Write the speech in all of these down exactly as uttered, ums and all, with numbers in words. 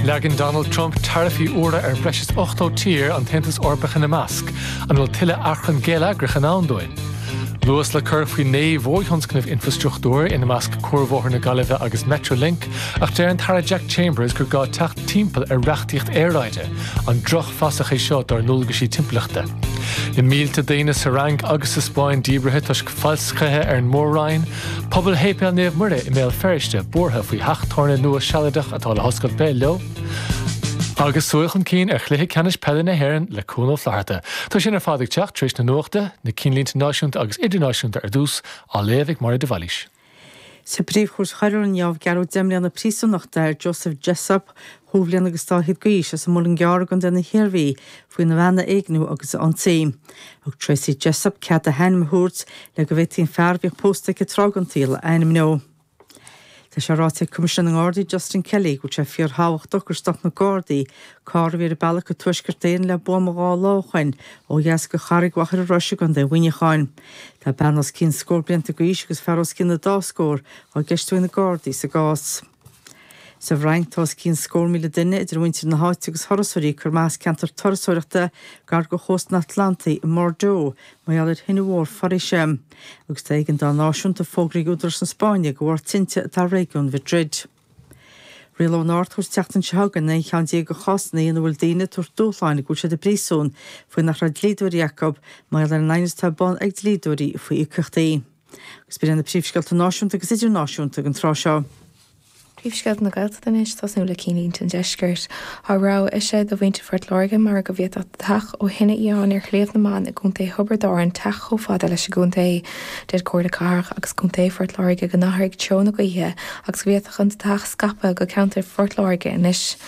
Leagann Donald Trump taraifí úra ar bhreis is ochtó tír, an tAontas Eorpach ina measc. An bhfuil tuilleadh achrann geilleagrach i ndán dúinn? Luas le cur faoi naoi mhórthionscnamh infrastruchtúir, ina measc Cuarbhóthar na Gaillimhe agus Metrolink, ach deir an tAire Jack Chambers gur gá teacht timpeall ar reachtaíocht aeráide. An drochfhasach é seo dár ndualgaisí timpeallachta? Na mílte daoine sa Fhrainc agus sa Spáinn díbrithe toisc falscaithe ar an Mór-Roinn. Pobal Shéipéal Naomh Muire i mBéal Feirste buartha faoi theach tábhairne nua sealadach atá le hoscailt béal leo. Agus súil chun cinn ar chluiche ceannais peile na hÉireann le Cuan Ó Flatharta. Tá sin ar fad ag teacht tar éis na nuachta, na cinnlínte náisiúnta agus idirnáisiúnta ar dtús, á léamh ag Máire de Bhailís. Sa Phríomh-Chúirt Choiriúil inniu, gearradh deich mbliana príosúnachta ar Joseph Jessop, dhá bhliain agus dá fhichead d'aois, as an Muileann gCearr i gContae na hIarmhí, faoina bhean a éigniú agus a ionsaí. Thug Tracy Jessop cead di a hainm a thabhairt le go bhféadfaí an fear a bhíodh pósta aici tráth den tsaol a ainmniú. Tá sé ráite ag Coimisinéir na nGardaí Justin Kelly go bhfuil sé fíorthábhachtach gur stop na Gardaí carr a bhí ar a bealach go Tuaisceart Éireann le buama dhá lá ó shin ó dheas de Charraig Mhachaire Rois i gContae Mhuineacháin. Tá bean os cionn scór blianta d'aois agus fear os cionn na dá scór á gceistiú ag na Gardaí sa gcás. Sa bhFrainc, tá os cionn scór míle duine, idir mhuintir na háite agus thurasóirí, ag cur amach as ceantar turasóireachta gar do chósta an Atlantaigh i mBordeaux mar gheall ar thine mhór foraoise. Agus tá éigeandáil náisiúnta fógraithe ag údaráis na Spáinne de bharr tinte atá i réigiún Mhadrid. Rialóidh an Ard-Chúirt an tseachtain seo chugainn aon cheann déag de chásanna ina bhfuil daoine ag tabhairt dúshláin go bhfuil siad i bpríosún faoi nach raibh dlíodóirí acu mar gheall ar an aighneas atá ar bun ag dlíodóirí faoi íocaíochtaí. Agus b'in iad na príomhscéalta náisiúnta agus idirnáisiúnta ag an tráth seo. Príomhscéalta na Gaeltachta anois, tosnú le cinnlínte an Deiscirt. Tá rabhadh eisithe do mhuintir Phort Láirge mar go bhféadfadh deatach ó thine fhiáin ar Shliabh na mBan i gContae Thiobraid Árann teacht chomh fada leis an gcontae. Deir Comhairle Cathrach agus Contae Phort Láirge go n-athraigh treo na gaoithe agus go bhféadfadh an deatach scaipeadh go ceantar Phort Láirge anois.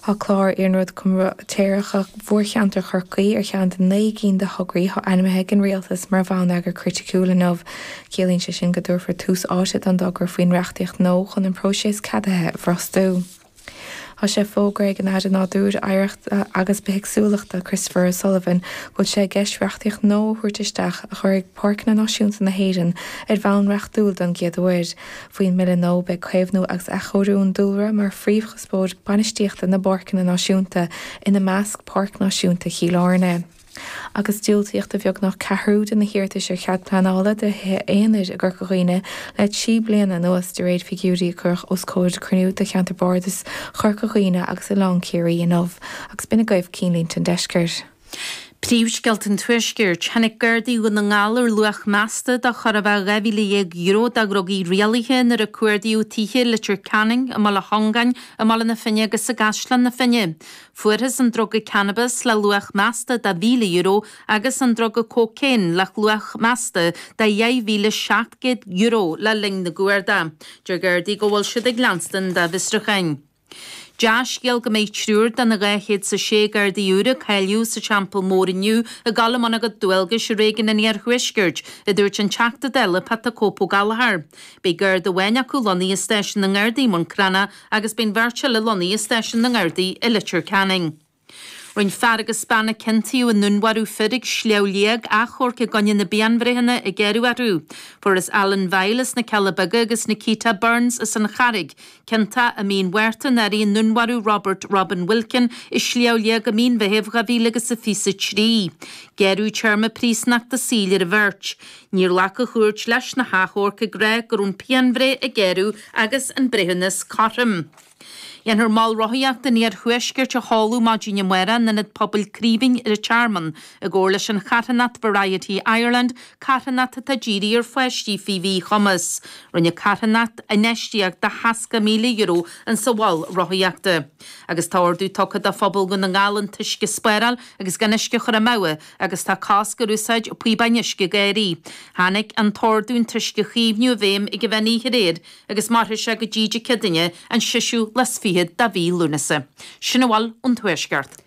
Tá clár iarnróid comaitéireach mhórcheantar Chorcaí ar cheann de naoi gcinn de thograí atá ainmnithe ag an Rialtas mar bhonneagar criticiúil inniu. Ciallaíonn sé sin go dtabharfar tús áite don dtogra faoin reachtaíocht nua chun an próiseas ceadaithe a bhrostú. Tá sé fógartha ag an Aire Nádúir, Oidhreachta agus Bithéagsúlachta Christopher O'Sullivan go bhfuil sé i gceist reachtaíocht nua a thabhairt isteach a chuirfidh Páirceanna Náisiúnta na hÉireann ar bhonn reachtúil don gcéad uair. Faoin mbille nua beidh caomhnú agus athchóiriú an dúlra mar phríomhchuspóir bainistíochta na bpáirceanna náisiúnta, ina measc Páirc Náisiúnta Chill Airne. Agus diúltaíodh do bheagnach ceathrú de na hiarratais ar chead pleanála do thithe aonair i gCorca Dhuibhne le trí bliana anuas, de réir figiúirí a cuireadh os comhair cruinniú de Cheantar Bardais Chorca Dhuibhne agus Oileán Ciarraí inniu. Agus b'in agaibh cinnlínte an deiscirt. Príomhscéalta an Tuaiscirt. Tháinig Gardaí Dhún na nGall ar luach measta de chóir a bheith dhá mhíle dhéag euro de dhrugaí rialaithe nuair a cuardaíodh tithe i Leitir Ceanainn, i mBaile Chongáin, i mBaile na Finne agus i gCaisleán na Finne. Fuarthas an druga cannabas le luach measta de mhíle euro agus an druga cócaon le luach measta de dheich mhíle seacht gcéad euro le linn na gcuardach. Deir Gardaí go bhfuil siad ag leanstan dá bhfiosrúcháin. Dea-scéal go mbeidh triúr de na dhá chéad 's a sé Gardaí úr a cáilíodh sa Teampall Mór inniu ag dul i mbun a gcuid dualgais i réigiún an Iarthuaiscirt, a dúirt an Teachta Dála Pat 'The Cope Ó Gallchóir. Beidh Garda amháin acu lonnaithe i Stáisiún na nGardaí i mBun Cranncha agus beidh an bheirt eile lonnaithe i Stáisiún na nGardaí i Leitir Ceanainn. Rinne fear agus bean a ciontaíodh i ndúnmharú fir ag Sliabh Liag achomharc i gcoinne na bpianbhreitheanna a gearradh orthu. Fuarthas Alan Vile as na Cealla Beaga agus Nikita Burns as an Charraig ciontach i mí an Mhárta anuraidh i ndúnmharú Robert Robin Wilkin i Sliabh Liag i mí an Mheithimh dhá mhíle agus a fiche a trí. Gearradh téarma príosúnachta saoil ar an bheirt. Níor ghlac an chúirt leis na hachomhairc ag rá go raibh an pianbhreith a gearradh agus an breithiúnas cothrom. Déanfar Mol Rothaíochta an Iarthuaiscirt a sheoladh maidin amárach in Ionad Pobail Craoibhín ar an Tearmann, i gcomhar leis an charthanacht Variety Ireland, carthanacht atá dírithe ar pháistí faoi mhíchumas. Rinne an charthanacht infheistíocht de sheasca míle euro insa mhol rothaíochta. Agus tá ordú tugtha do phobal Dhún na nGall an t-uisce a spáráil agus gan uisce a chur amú agus tá cosc ar úsáid píobáin uisce ag éirí. Tháinig an t-ordú an t-uisce a chaomhnú i bhfeidhm ag an mheán oíche aréir agus mairfidh sé go dtí Dé Céadaoine an seisiú lá is fichead de mhí Lúnasa. Sin a bhfuil ón Tuaisceart.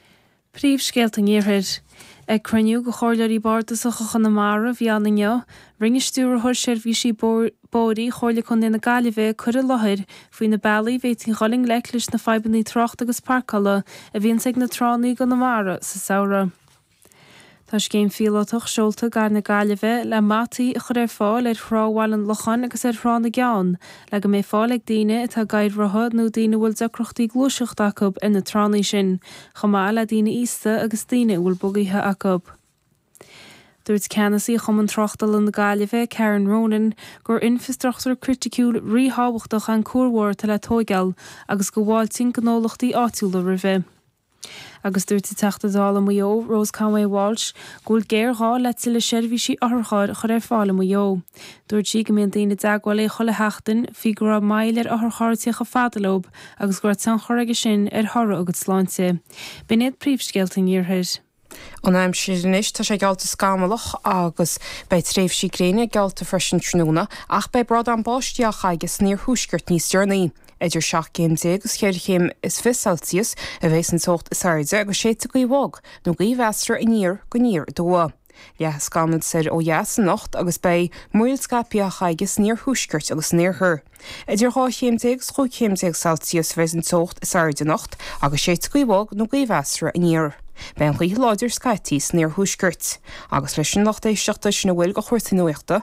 Príomhscéalta an Iarthair. Ag cruinniú de chomhairleoirí bardasacha Chonamara a bhí ann inniu, rinne Stiúrthóir Seirbhísí Bóithre Chomhairle Contae na Gaillimhe cur i láthair faoi na bealaí a bhféadfaí dhul i ngleic leis na fadhbanna tráchta agus páirceála a bhíonns ag na tránna i gConamara sa samhradh. Tá scéim phíolótach seolta i gcathair na Gaillimhe le mataí a chur ar fáil ar Thrá Bhaile an Locháin agus ar Thrá na gCeann, le go mbeidh fáil ag daoine atá ag gadhair rotha nó daoine a bhfuil deacrachtaí gluaiseachta acu ar na tránna sin, chomh maith le daoine aosta agus daoine a bhfuil bugaithe acu. Dúirt ceannasaí Chumann Tráchtála na Gaillimhe, Karen Ronan, gur infreastruchtúr criticiúil ríthábhachtach an cuar mhór atá le tóigeáil agus go bhfáiltíonn gnólachtaí áitiúla roimhe. Agus dúirt an Teachta Dála Mhaigh Eo, Rose Conway Walsh, go bhfuil géarghá le tuilleadh seirbhísí otharchairr a chur ar fáil i Maigh Eo. Dúirt sí go mbíonn daoine i dteagmháil léi chuile sheachtain faoi go raibh moill ar otharcharr ag tíocht chomh fada leo agus go raibh tionchar aige sin ar thoradh a gcuid sláinte. B'in iad príomhscéalta an Iarthair. An aimsir anois tá sé geallta scamallach agus beidh tréimhsí gréine geallta freisin tráthnóna ach beidh brádán báistí á chaitheamh san iarthuaisceart níos deireanaí. Idir seacht gcéim déag agus ceithre chéim is fiche Celsius a bheas an teocht is airde agus séidfidh gaoth bhog nó gaoth mheasartha aniar go aniar aduaidh. Leathfaidh scamaill soir ó dheas anocht agus beidh múraíl scaipthe á chaitheamh san iarthuaisceart agus san iarthar. Idir dhá chéim déag is chúig chéim déag Celsius a bheas an teocht is airde anocht agus séidfidh gaoth bhog nó gaoth mheasartha aniar. Beidh an ghaoth láidir scaití san iarthuaisceart. Agus leis sin lucht éisteachta sin a bhfuil de chúrsaí nuachta